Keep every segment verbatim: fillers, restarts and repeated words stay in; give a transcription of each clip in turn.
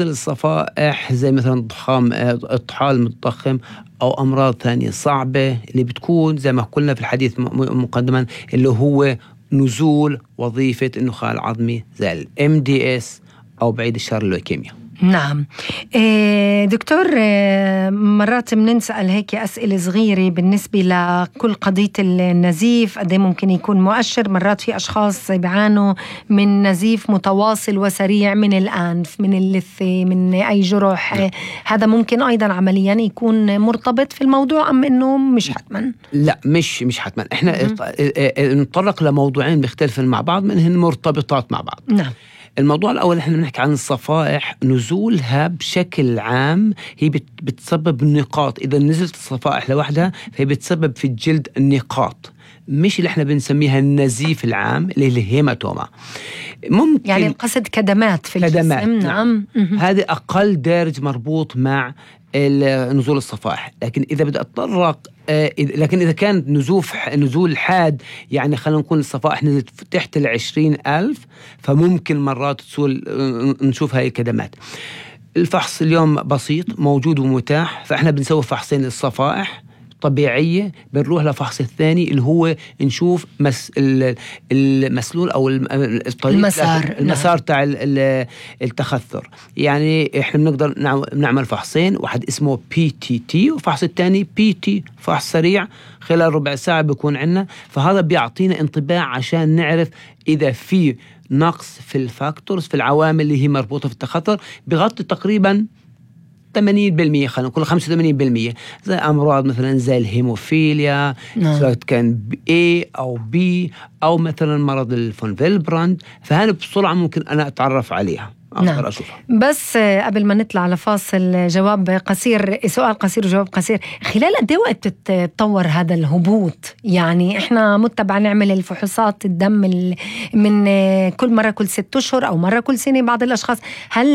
الصفائح زي مثلا الضخام الطحال المتضخم أو أمراض ثانية صعبة اللي بتكون زي ما قلنا في الحديث مقدما اللي هو نزول وظيفة النخاع العظمي زي ال إم دي إس أو بعيد الشر اللوكيميا. نعم دكتور، مرات بنسأل هيك أسئلة صغيرة بالنسبة لكل قضية النزيف، قد ممكن يكون مؤشر. مرات في أشخاص بيعانوا من نزيف متواصل وسريع من الأنف، من اللثة، من أي جرح. هذا ممكن أيضا عمليا يكون مرتبط في الموضوع أم إنه مش حتما؟ لا مش مش حتما. إحنا نتطرق لموضوعين مختلفين مع بعض منهن مرتبطات مع بعض. نعم. الموضوع الأول إحنا بنحكي عن الصفائح، نزولها بشكل عام هي بتسبب نقاط. إذا نزلت الصفائح لوحدها فهي بتسبب في الجلد النقاط، مش اللي إحنا بنسميها النزيف العام اللي هي الهيماتوما. ممكن يعني القصد كدمات في كدمات. الجسم. نعم. هذا أقل دارج مربوط مع نزول الصفائح. لكن إذا بدأ أتطرق آه لكن إذا كان نزوف نزول حاد، يعني خلينا نقول الصفائح نزلت تحت العشرين ألف، فممكن مرات تسول نشوف هاي الكدمات. الفحص اليوم بسيط موجود ومتاح، فإحنا بنسوي فحصين للصفائح طبيعية، بنروح لفحص الثاني اللي هو نشوف مس المسلول أو الطريق المسار المسار تاع التخثر. يعني إحنا بنقدر نعمل فحصين، واحد اسمه بي تي تي وفحص الثاني بي تي، فحص سريع خلال ربع ساعة بيكون عنا. فهذا بيعطينا انطباع عشان نعرف إذا في نقص في الفاكتورز، في العوامل اللي هي مربوطة في التخثر، بغطي تقريبا ثمانين بالمئة، خلينا نقول خمسة وثمانين بالمئة، زي أمراض مثلا زي الهيموفيليا، نعم. سواء كان A أو B أو مثلا مرض الفون فيلبراند. فهنا بسرعة ممكن أنا أتعرف عليها. نعم. بس قبل ما نطلع لفاصل، جواب قصير، سؤال قصير وجواب قصير. خلال قد ايه وقت تتطور هذا الهبوط؟ يعني احنا متبع نعمل الفحوصات الدم من كل مرة كل ست اشهر او مرة كل سنة بعض الاشخاص. هل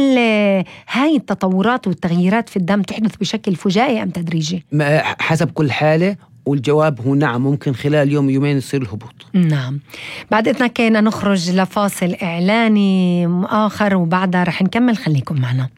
هاي التطورات والتغييرات في الدم تحدث بشكل فجائي ام تدريجي؟ حسب كل حالة، والجواب هو نعم، ممكن خلال يوم يومين يصير الهبوط. نعم. بعد إذنك كنا نخرج لفاصل إعلاني آخر وبعدها رح نكمل، خليكم معنا.